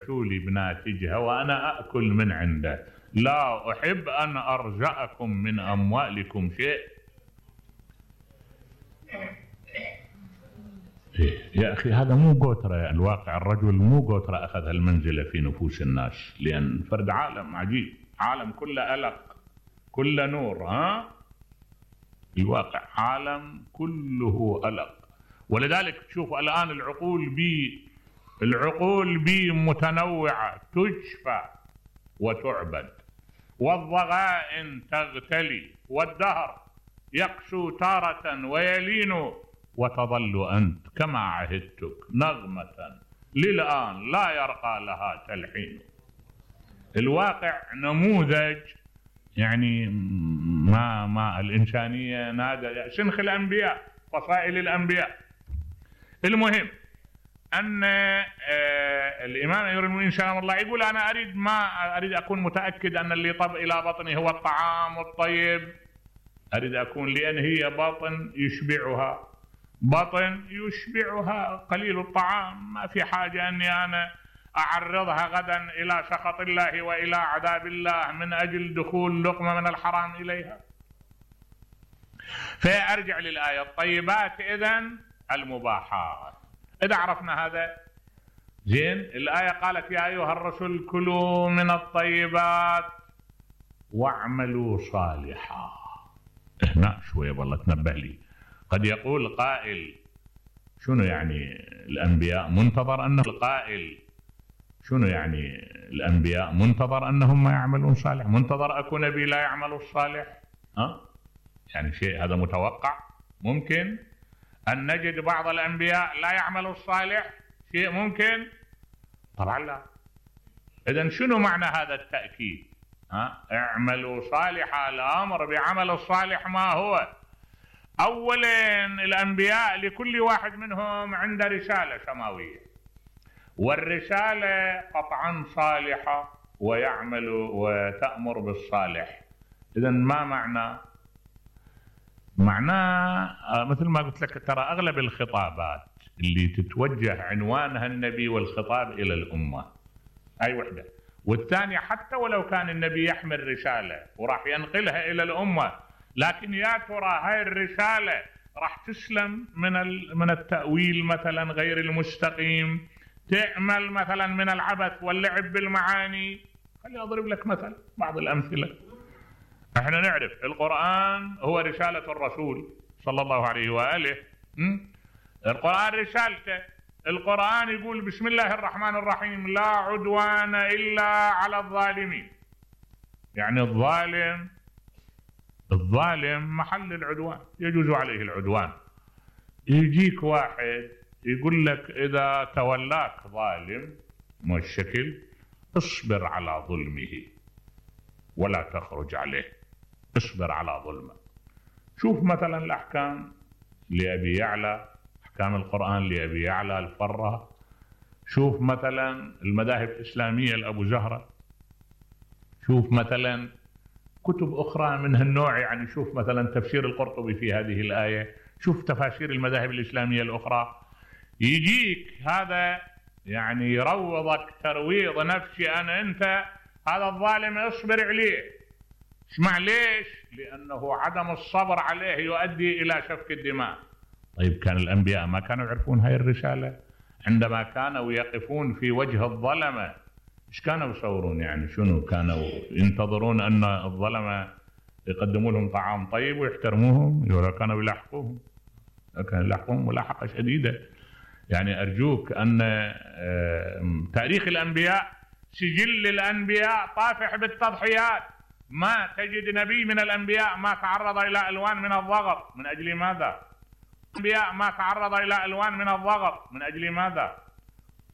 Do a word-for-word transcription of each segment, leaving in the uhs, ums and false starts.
الرسول بناتجها وأنا أكل من عنده، لا أحب أن أرجأكم من أموالكم شيء. يا أخي هذا مو قوترة، الواقع الرجل مو قوترة أخذ هالمنزلة في نفوس الناس، لأن فرد عالم عجيب، عالم كله ألق كله نور. ها الواقع عالم كله ألق. ولذلك تشوف الآن العقول بي العقول بي متنوعة تشفى وتعبد، والضغائن تغتلي، والدهر يقسو تارة ويلين، وتظل أنت كما عهدتك نغمة للآن لا يرقى لها تلحين. الواقع نموذج يعني ما ما الإنسانية نادى شنخ الأنبياء، فصائل الأنبياء. المهم أن الإمام أمير المؤمنين سلام الله يقول أنا أريد ما أريد أكون متأكد أن اللي طب إلى بطني هو الطعام الطيب، أريد أكون لأن هي بطن يشبعها، بطن يشبعها قليل الطعام، ما في حاجة أني أنا أعرضها غدا إلى سخط الله وإلى عذاب الله من أجل دخول لقمة من الحرام إليها. فأرجع للآية الطيبات إذن المباحات. إذا عرفنا هذا زين، الآية قالت يا أيها الرسل كلوا من الطيبات واعملوا صالحا. هنا شوية والله تنبه لي، قد يقول قائل شنو يعني الأنبياء منتظر أنه القائل شنو يعني الأنبياء منتظر أنهم ما يعملون صالح، منتظر أكو نبي لا يعمل الصالح؟ ها يعني شيء هذا متوقع؟ ممكن أن نجد بعض الأنبياء لا يعمل الصالح؟ شيء ممكن؟ طبعا لا. إذن شنو معنى هذا التأكيد؟ ها اعملوا صالحا، الأمر بعمل الصالح ما هو؟ أولا الأنبياء لكل واحد منهم عنده رسالة سماوية، والرسالة قطعا صالحة ويعمل وتأمر بالصالح. إذن ما معنى؟ معناه مثل ما قلت لك ترى أغلب الخطابات اللي تتوجه عنوانها النبي والخطاب إلى الأمة أي وحدة، والثانية حتى ولو كان النبي يحمل رسالة وراح ينقلها إلى الأمة، لكن يا ترى هاي الرسالة راح تسلم من من التأويل مثلا غير المستقيم، تعمل مثلا من العبث واللعب بالمعاني. خليني أضرب لك مثل بعض الأمثلة. احنا نعرف القرآن هو رسالة الرسول صلى الله عليه وآله، القرآن رسالته. القرآن يقول بسم الله الرحمن الرحيم لا عدوان إلا على الظالمين، يعني الظالم الظالم محل العدوان، يجوز عليه العدوان. يجيك واحد يقول لك إذا تولاك ظالم ما الشكل اصبر على ظلمه ولا تخرج عليه، اصبر على ظلمه. شوف مثلا الأحكام لأبي يعلى، أحكام القرآن لأبي يعلى الفرة. شوف مثلا المذاهب الإسلامية لأبو زهرة، شوف مثلا كتب أخرى من هالنوع، يعني شوف مثلا تفسير القرطبي في هذه الآية، شوف تفاسير المذاهب الإسلامية الأخرى. يجيك هذا يعني يروضك ترويض نفسي أنا أنت هذا الظالم اصبر عليه. اسمع ليش؟ لأنه عدم الصبر عليه يؤدي إلى سفك الدماء. طيب كان الأنبياء ما كانوا يعرفون هاي الرسالة؟ عندما كانوا يقفون في وجه الظلمة ايش كانوا يصورون؟ يعني شنو كانوا ينتظرون أن الظلمة يقدموا لهم طعام طيب ويحترموهم؟ ولا كانوا يلاحقوهم؟ كانوا يلاحقوهم ملاحقة شديدة. يعني أرجوك أن تاريخ الأنبياء سجل الأنبياء طافح بالتضحيات، ما تجد نبي من الأنبياء ما تعرض إلى ألوان من الضغط. من أجل ماذا؟ الأنبياء ما تعرض إلى ألوان من الضغط من أجل ماذا؟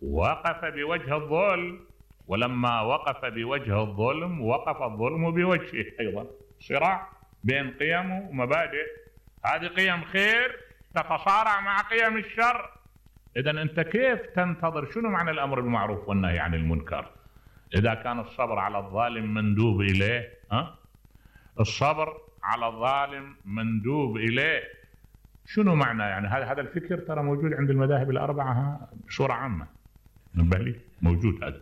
وقف بوجه الظلم، ولما وقف بوجه الظلم وقف الظلم بوجهه أيضا. صراع بين قيم ومبادئ، هذه قيم خير تتصارع مع قيم الشر. إذن أنت كيف تنتظر؟ شنو معنى الأمر بالمعروف والنهي عن المنكر إذا كان الصبر على الظالم مندوب إليه؟ ها؟ الصبر على الظالم مندوب إليه شنو معنى؟ يعني هذا هذا الفكر ترى موجود عند المذاهب الأربعة بصورة عامة، نبه لي موجود هذا.